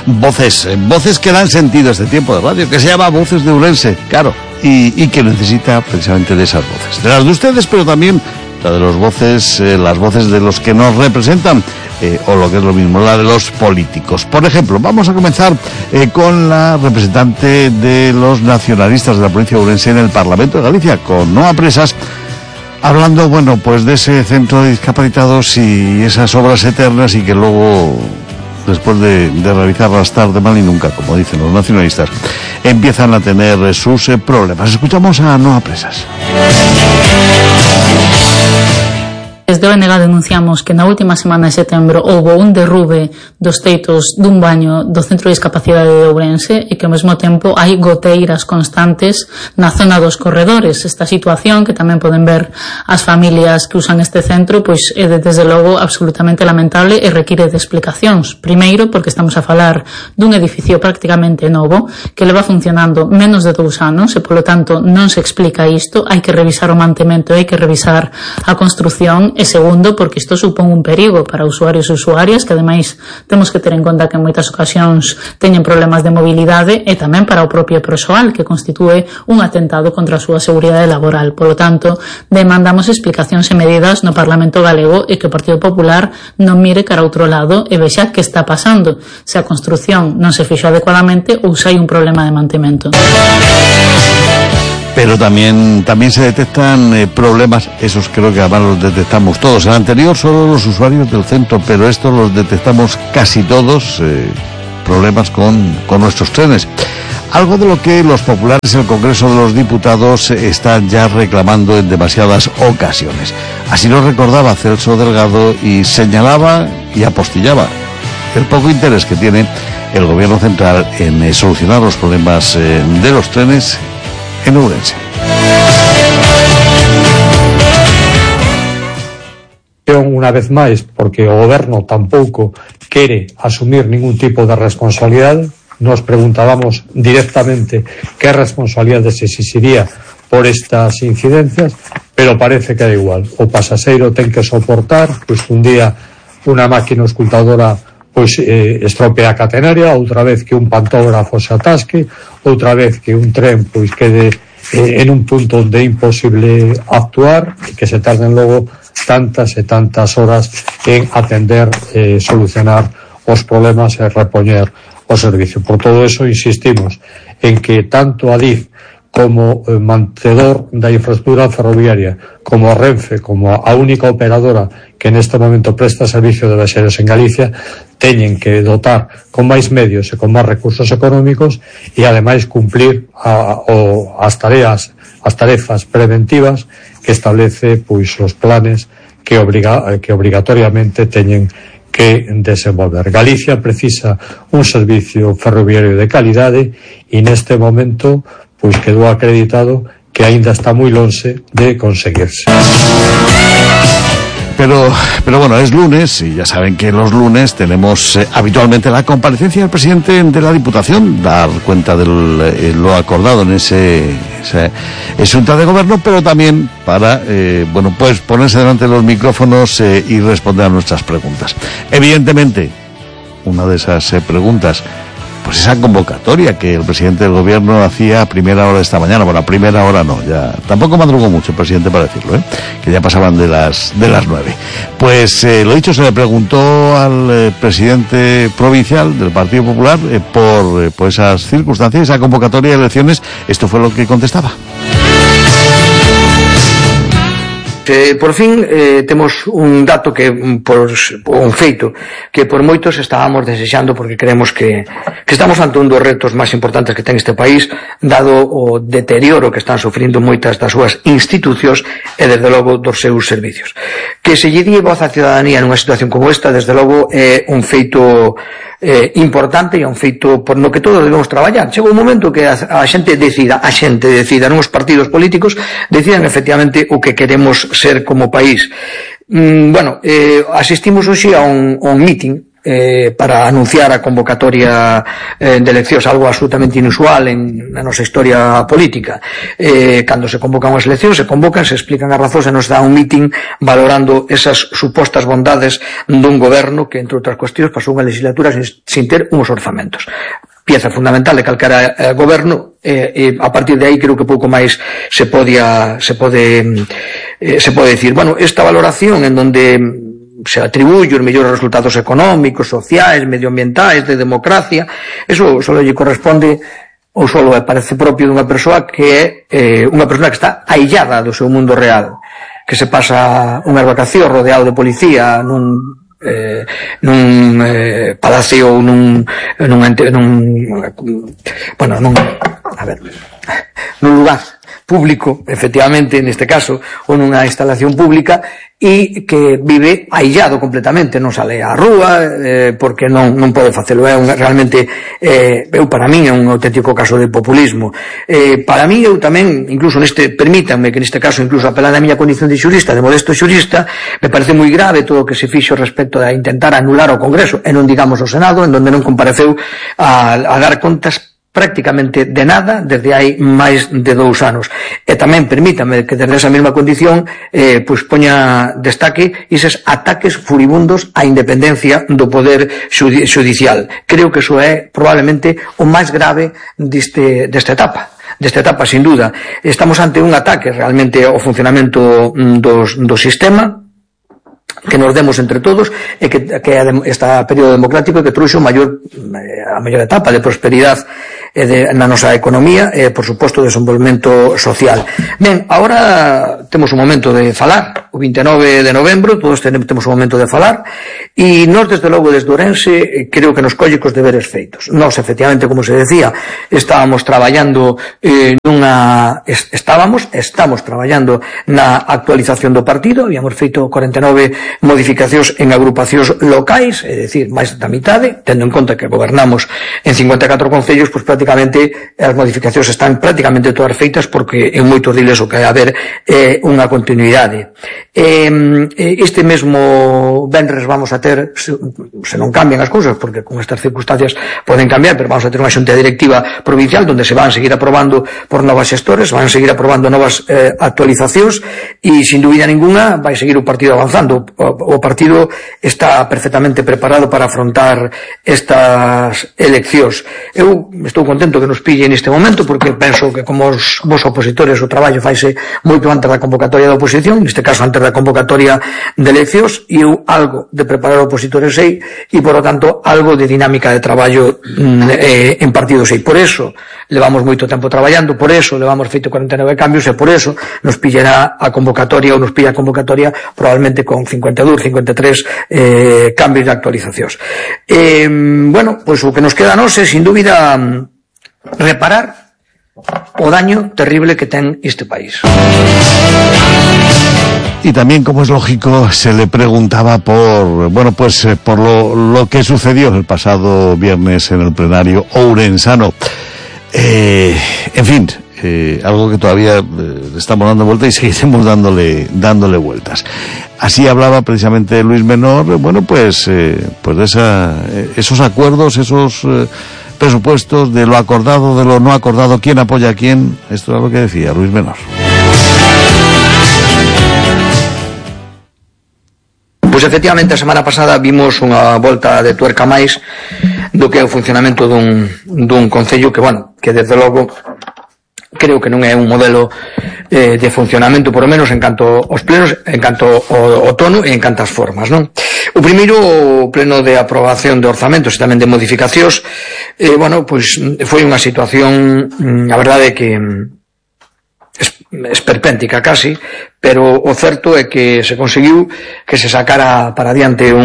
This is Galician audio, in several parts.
voces que dan sentido a este tiempo de radio, que se llama Voces de Ourense, claro, y que necesita precisamente de esas voces, de las de ustedes, pero también la de las voces de los que nos representan, o lo que es lo mismo, la de los políticos. Por ejemplo, vamos a comenzar con la representante de los nacionalistas de la provincia de Ourense en el Parlamento de Galicia, con Noa Presas, hablando, bueno, pues de ese centro de discapacitados y esas obras eternas, y que luego, después de realizarlas tarde, mal y nunca, como dicen los nacionalistas, empiezan a tener sus problemas. Escuchamos a Noa Presas. Desde ONG denunciamos que na última semana de setembro houve un derrube dos teitos dun baño do Centro de Discapacidade de Ourense e que ao mesmo tempo hai goteiras constantes na zona dos corredores. Esta situación, que tamén poden ver as familias que usan este centro, pois é desde logo absolutamente lamentable e require de explicacións. Primeiro, porque estamos a falar dun edificio prácticamente novo que leva funcionando menos de 2 anos e, polo tanto, non se explica isto. Hai que revisar o mantemento, hai que revisar a construción. E segundo, porque isto supón un perigo para usuarios e usuarias, que ademais temos que ter en conta que en moitas ocasións teñen problemas de mobilidade, e tamén para o propio persoal, que constitúe un atentado contra a súa seguridade laboral. Polo tanto, demandamos explicacións e medidas no Parlamento galego, e que o Partido Popular non mire cara a outro lado e vexa que está pasando, se a construción non se fixo adecuadamente ou se hai un problema de mantemento. Pero también se detectan problemas, esos creo que además los detectamos todos. El anterior solo los usuarios del centro, pero estos los detectamos casi todos, problemas con nuestros trenes. Algo de lo que los populares en el Congreso de los Diputados están ya reclamando en demasiadas ocasiones. Así lo recordaba Celso Delgado y señalaba y apostillaba el poco interés que tiene el Gobierno central en solucionar los problemas de los trenes en Ourense. Unha vez máis, porque o goberno tampouco quere asumir ningún tipo de responsabilidade, nos preguntábamos directamente que responsabilidade se exixiría por estas incidencias, pero parece que da igual. O pasaxeiro ten que soportar, pois un día unha máquina escultadora pois estropea a catenaria, outra vez que un pantógrafo se atasque, outra vez que un tren pois quede en un punto onde é imposible actuar, e que se tarden logo tantas e tantas horas en atender, solucionar os problemas e repoñer o servicio. Por todo eso insistimos en que tanto Adif como mantedor da infraestructura ferroviaria, como a Renfe, como a única operadora que neste momento presta servicio de viaxeros en Galicia, teñen que dotar con máis medios e con máis recursos económicos e ademais cumplir as tarefas preventivas que establece pois os planes que obrigatoriamente teñen que desenvolver. Galicia precisa un servicio ferroviario de calidade e neste momento pois quedou acreditado que aínda está moi lonxe de conseguirse. Pero bueno, es lunes y ya saben que los lunes tenemos habitualmente la comparecencia del presidente de la Diputación, dar cuenta de lo acordado en esa Junta de Gobierno, pero también para pues ponerse delante de los micrófonos y responder a nuestras preguntas. Evidentemente, una de esas preguntas, pues esa convocatoria que el presidente del Gobierno hacía a primera hora de esta mañana. Bueno, a primera hora no, ya tampoco madrugó mucho el presidente para decirlo, que ya pasaban de las 9. Pues lo dicho, se le preguntó al presidente provincial del Partido Popular por esas circunstancias, esa convocatoria de elecciones. Esto fue lo que contestaba. Por fin temos un dato que un feito que por moitos estábamos desexando, porque creemos que estamos ante un dos retos máis importantes que ten este país, dado o deterioro que están sufrindo moitas das súas institucións e desde logo dos seus servicios. Que se lle dí voz á ciudadanía nunha situación como esta, desde logo é un feito importante e un feito por no que todos debemos traballar. Chega un momento que a xente decida, non os partidos políticos decidan efectivamente o que queremos ser como país. Asistimos hoxe a un meeting para anunciar a convocatoria de eleccións, algo absolutamente inusual na nosa historia política. Cando se convocan as eleccións, se convocan, se explican as razóns e nos dá un meeting valorando esas supostas bondades dun goberno que, entre outras cuestións, pasou unha legislatura sin ter unhos orzamentos. Pieza fundamental de calquera goberno, e a partir de aí creo que pouco máis se pode decir. Bueno, esta valoración en donde se atribuye os mellores resultados económicos, sociais, medioambientais, de democracia, eso só lle corresponde ou só parece propio dunha persoa que é unha persoa que está aillada do seu mundo real, que se pasa unhas vacacións rodeado de policía nun palacio ou nun lugar público, efectivamente, neste caso, ou nunha instalación pública, e que vive aillado completamente, non sale á rúa, porque non pode facelo. Realmente, para min, é un auténtico caso de populismo. Para min, eu tamén, incluso permítanme que neste caso, incluso apelando a miña condición de xurista, de modesto xurista, me parece moi grave todo o que se fixo respecto a intentar anular o Congreso, e non digamos o Senado, en donde non compareceu a dar contas prácticamente de nada desde hai máis de 2 anos. E tamén permítame que desde esa mesma condición poña destaque eses ataques furibundos á independencia do poder xudicial. Creo que iso é probablemente o máis grave desta etapa sin duda. Estamos ante un ataque realmente ao funcionamento do sistema, que nos demos entre todos, e que este período democrático que trouxe a maior etapa de prosperidade na nosa economía e, por suposto, desenvolvemento social. Ben, agora temos un momento de falar, o 29 de novembro, todos temos un momento de falar, e nós, desde logo, desde Ourense, creo que nos colle cos deberes feitos. Nós, efectivamente, como se decía, estamos traballando estamos traballando na actualización do partido, habíamos feito 49 modificacións en agrupacións locais, é dicir, máis da mitade, tendo en conta que gobernamos en 54 concellos, pois prácticamente as modificacións están prácticamente todas feitas, porque en moitos diles o que hai a haber é unha continuidade. Este mesmo venres vamos a ter, se non cambian as cousas, porque con estas circunstancias poden cambiar, pero vamos a ter unha xunta directiva provincial onde se van seguir aprobando por novas xestores, van seguir aprobando novas actualizacións, e sin dúbida ninguna vai seguir o partido avanzando. O partido está perfectamente preparado para afrontar estas eleccións. Eu estou contento que nos pille neste momento, porque penso que como os vos opositores o traballo faise moito antes da convocatoria da oposición, neste caso antes da convocatoria de eleccións, e eu algo de preparar opositores sei, e por lo tanto algo de dinámica de traballo en partido sei. Por eso levamos moito tempo traballando, por eso levamos feito 49 cambios, e por eso nos pillará a convocatoria, ou nos pilla a convocatoria probablemente con 52, 53 cambios de actualizacións. Bueno, pois o que nos queda a nós é, sin dúbida, reparar o daño terrible que ten este país. Y también, como es lógico, se le preguntaba por lo que sucedió el pasado viernes en el plenario ourensano. En fin, algo que todavía estamos dando vueltas y seguiremos dándole vueltas. Así hablaba precisamente Luis Menor, de esos acuerdos, esos presupuestos, de lo acordado, de lo no acordado, quién apoya a quién. Esto era lo que decía Luis Menor. Pois efectivamente a semana pasada vimos unha volta de tuerca máis do que é o funcionamento dun concello que desde logo creo que non é un modelo de funcionamento, por lo menos en canto aos plenos, en canto ao tono e en cantas formas, non? O primeiro, o pleno de aprobación de orzamentos e tamén de modificacións, foi unha situación, a verdade que esperpéntica casi, pero o certo é que se conseguiu que se sacara para adiante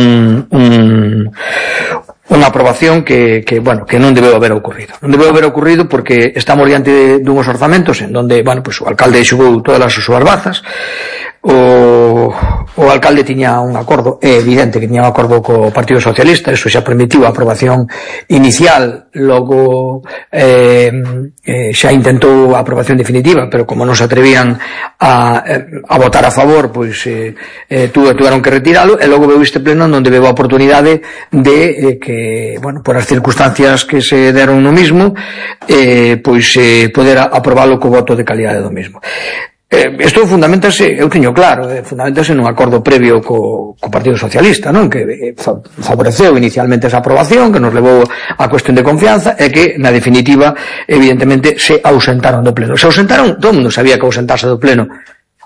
unha aprobación que non debeu haber ocurrido. Non debeu haber ocurrido porque estamos diante dunhos orzamentos en donde, o alcalde xogou todas as súas bazas, o alcalde tiña un acordo, é evidente que tiña un acordo co Partido Socialista, eso xa permitiu a aprobación inicial, logo xa intentou a aprobación definitiva, pero como non se atrevían a votar a favor, pois tuveron que retiralo, e logo veu este pleno onde veu a oportunidade de que, bueno, por as circunstancias que se deron no mismo, pois poder aprobalo co voto de calidade do mismo. Isto fundamentase, eu teño claro, fundamentase nun acordo previo co Partido Socialista, non? Que favoreceu inicialmente esa aprobación, que nos levou a cuestión de confianza, e que, na definitiva, evidentemente, se ausentaron do pleno. Se ausentaron, todo o mundo sabía que ausentarse do pleno,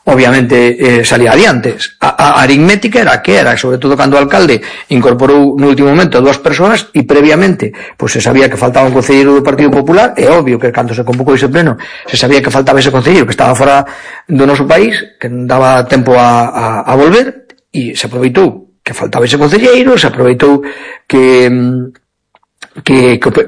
obviamente, salía adiante. A aritmética era que era, sobre todo cando o alcalde incorporou no último momento 2 persoas e previamente pois se sabía que faltaba un concelleiro do Partido Popular, é obvio que cando se convocou ese pleno se sabía que faltaba ese concelleiro que estaba fora do noso país, que non daba tempo a volver, e se aproveitou que faltaba ese concelleiro, se aproveitou que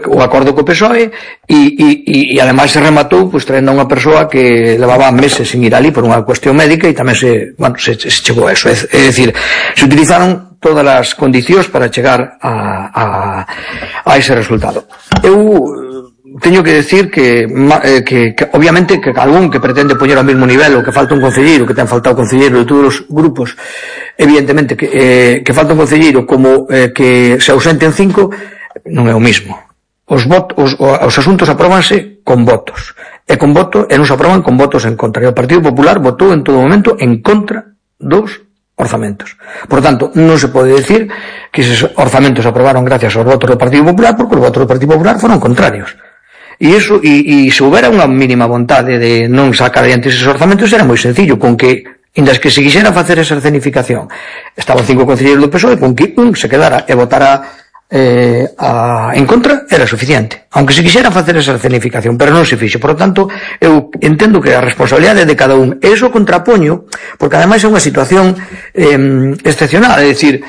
o acordo co PSOE e ademais se rematou pois traendo a unha persoa que levaba meses sin ir ali por unha cuestión médica e tamén se chegou a eso, é dicir, se utilizaron todas as condicións para chegar a ese resultado. Eu teño que decir que obviamente que algún que pretende poñer ao mesmo nivel o que falta un concelleiro, que ten faltado concelleiro de todos os grupos, evidentemente que falta un concelleiro como que se ausenten 5 non é o mismo. Os asuntos apróbanse con votos. E non se aproban con votos en contra. E o Partido Popular votou en todo momento en contra dos orzamentos. Por tanto, non se pode decir que esos orzamentos se aprobaron gracias aos votos do Partido Popular, porque os votos do Partido Popular foron contrarios. E se houbera unha mínima vontade de non sacar adiante esos orzamentos, era moi sencillo, con que indas que se quixera facer esa escenificación estaban 5 concelleiros do PSOE, con que un se quedara e votara en contra era suficiente, aunque se quixera facer esa escenificación, pero non se fixo. Por lo tanto, eu entendo que a responsabilidade de cada un, e iso contrapoño, porque ademais é unha situación excepcional, é dicir,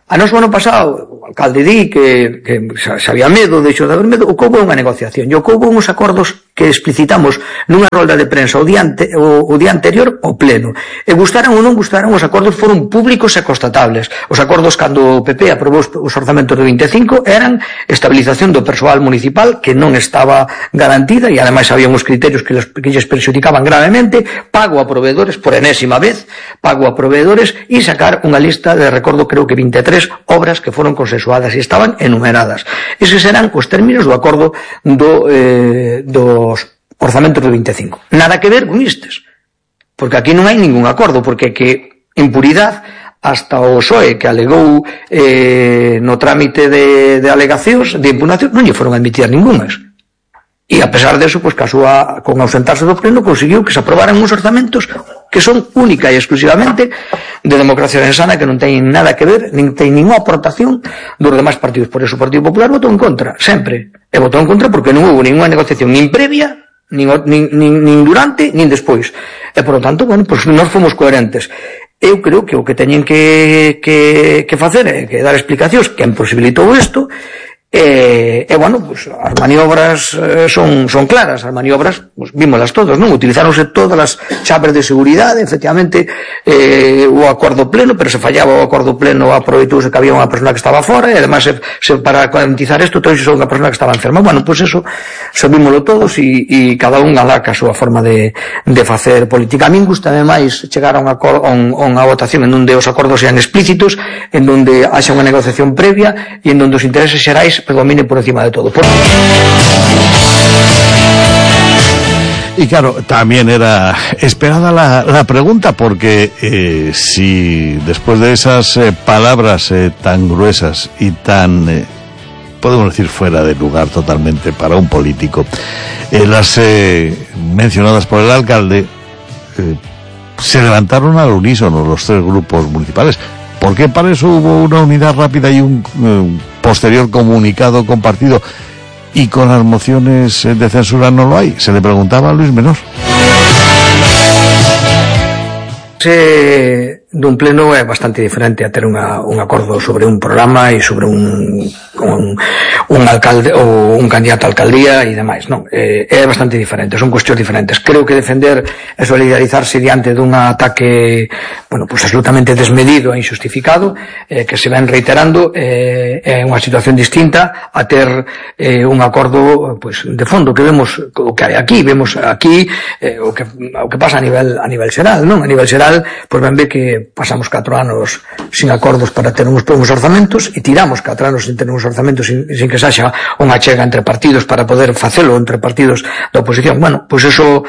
a nos o ano pasado o alcalde di que se había medo, deixou de haber medo, o que houve unha negociación, e o que houve uns acordos que explicitamos nunha rolda de prensa o día anterior ao pleno, e gustaran ou non gustaran, os acordos foron públicos e constatables. Os acordos cando o PP aprobou os orzamentos do 25 eran estabilización do persoal municipal que non estaba garantida, e ademais había uns criterios que lles perxudicaban gravemente, pago a proveedores por enésima vez, pago a proveedores, e sacar unha lista de, recordo, creo que 23 obras que foron consensuadas e estaban enumeradas. Eses eran os términos do acordo dos orzamentos do 25. Nada que ver con estes, porque aquí non hai ningún acordo, porque que en puridade hasta o PSOE que alegou no trámite de alegacións de impugnación non lle foron admitidas ningunhas. E a pesar de eso, pois, con ausentarse do pleno, conseguiu que se aprobaran uns orzamentos que son única e exclusivamente de democracia sana, que non teñen nada que ver, nin teñen ninguna aportación dos demais partidos. Por eso o Partido Popular votou en contra, sempre. E votou en contra porque non houve ninguna negociación, nin previa, nin durante, nin despois. E, por lo tanto, bueno, pois nós fomos coherentes. Eu creo que o que teñen que facer é que dar explicacións que imposibilitou isto. Bueno, pues, as maniobras son claras, as maniobras pues, vímolas todos, non? Utilizáronse todas as chaves de seguridade, efectivamente o acordo pleno, pero se fallaba o acordo pleno, aproveitouse que había unha persona que estaba fora, e además para garantizar isto, todos unha persona que estaba enferma. Bueno, pues eso sabímolo todos, e cada un alá a súa forma de facer política. A min gustame máis chegar a unha votación en onde os acordos sean explícitos, en onde haxa unha negociación previa e en onde os intereses xerais predominen por encima de todo. Y claro, también era esperada la pregunta, porque si después de esas palabras tan gruesas y tan, podemos decir, fuera de lugar totalmente para un político, las mencionadas por el alcalde, se levantaron al unísono los 3 grupos municipales, porque para eso hubo una unidad rápida y un posterior comunicado compartido, y con las mociones de censura no lo hay. Se le preguntaba a Luis Menor. Dun pleno é bastante diferente a ter un acordo sobre un programa e sobre un un alcalde ou un candidato a alcaldía e demais, non, é bastante diferente, son cuestións diferentes. Creo que defender e solidarizarse diante dun ataque, bueno, pues absolutamente desmedido e injustificado, que se ven reiterando, é unha situación distinta a ter un acordo, pues, de fondo, que vemos o que hai aquí, vemos aquí o que pasa a nivel xeral, non? A nivel xeral, pues ben ve que pasamos 4 anos sin acordos para ter uns orzamentos e tiramos 4 anos sin ter uns orzamentos sin que saxa unha chega entre partidos para poder facelo entre partidos da oposición. Bueno, pois eso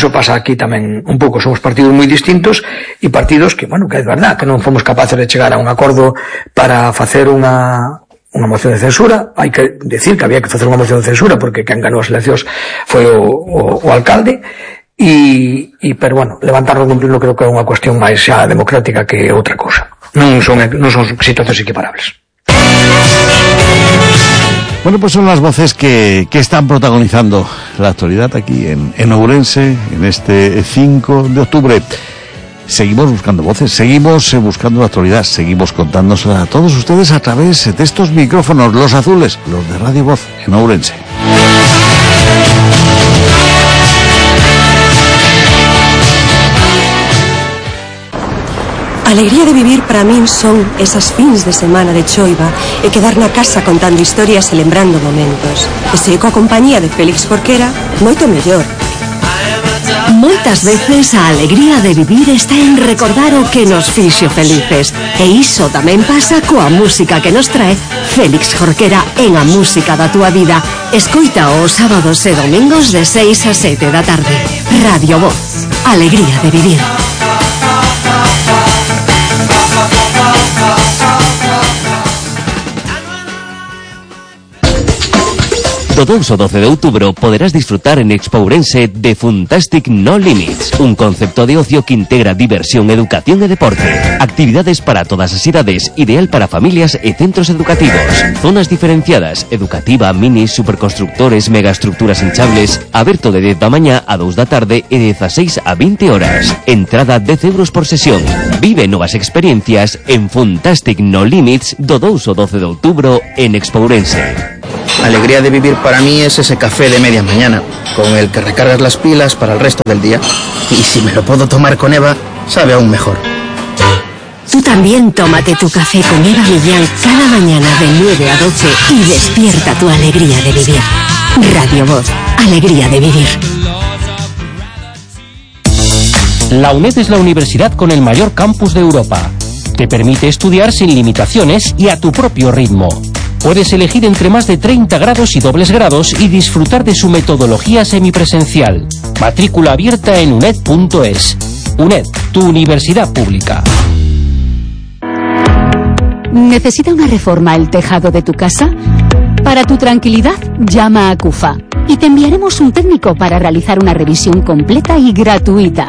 pasa aquí tamén un pouco. Somos partidos moi distintos e partidos que, bueno, que é verdad que non fomos capaces de chegar a un acordo para facer unha moción de censura. Hai que decir que había que facer unha moción de censura porque quen ganou as eleccións foi o alcalde pero bueno, levantarlo e cumprirlo creo que é unha cuestión máis xa democrática que outra cousa. Non son situacións equiparables. Bueno, pues son las voces que están protagonizando la actualidad aquí en Ourense, en este 5 de octubre. Seguimos buscando voces, seguimos buscando la actualidad, seguimos contándonos a todos ustedes a través de estos micrófonos, los azules, los de Radio Voz en Ourense. A alegría de vivir para min son esas fins de semana de choiva e quedar na casa contando historias e lembrando momentos. E se coa compañía de Félix Jorquera, moito mellor. Moitas veces a alegría de vivir está en recordar o que nos fixo felices. E iso tamén pasa coa música que nos trae Félix Jorquera en A Música da Túa Vida. Escoita os sábados e domingos de 6 a 7 da tarde. Radio Voz. Alegría de vivir. Do 2 ao 12 de outubro poderás disfrutar en Expo Ourense de Funtastic No Limits, un concepto de ocio que integra diversión, educación e deporte. Actividades para todas as idades, ideal para familias e centros educativos. Zonas diferenciadas, educativa, minis, superconstructores, megaestructuras hinchables. Aberto de 10 da mañá a 2 da tarde e de 16 a 20 horas. Entrada 10 euros por sesión. Vive novas experiencias en Funtastic No Limits do 2 ao 12 de outubro en Expo Ourense. Alegría de vivir para mí es ese café de media mañana, con el que recargas las pilas para el resto del día. Y si me lo puedo tomar con Eva, sabe aún mejor. Tú también tómate tu café con Eva Millán cada mañana de 9 a 12 y despierta tu alegría de vivir. Radio Voz, alegría de vivir. La UNED es la universidad con el mayor campus de Europa. Te permite estudiar sin limitaciones y a tu propio ritmo. Puedes elegir entre más de 30 grados y dobles grados y disfrutar de su metodología semipresencial. Matrícula abierta en uned.es. UNED, tu universidad pública. ¿Necesita una reforma el tejado de tu casa? Para tu tranquilidad, llama a CUFA y te enviaremos un técnico para realizar una revisión completa y gratuita.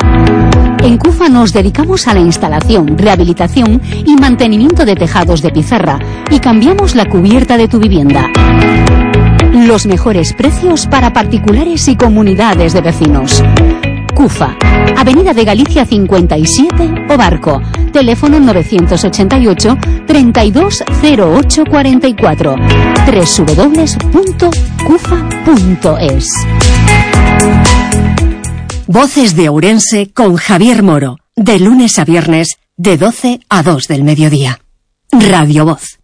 En CUFA nos dedicamos a la instalación, rehabilitación y mantenimiento de tejados de pizarra y cambiamos la cubierta de tu vivienda. Los mejores precios para particulares y comunidades de vecinos. CUFA, Avenida de Galicia 57 o Barco, teléfono 988 320844, www.cufa.es. Voces de Ourense con Javier Moro, de lunes a viernes, de 12 a 2 del mediodía. Radio Voz.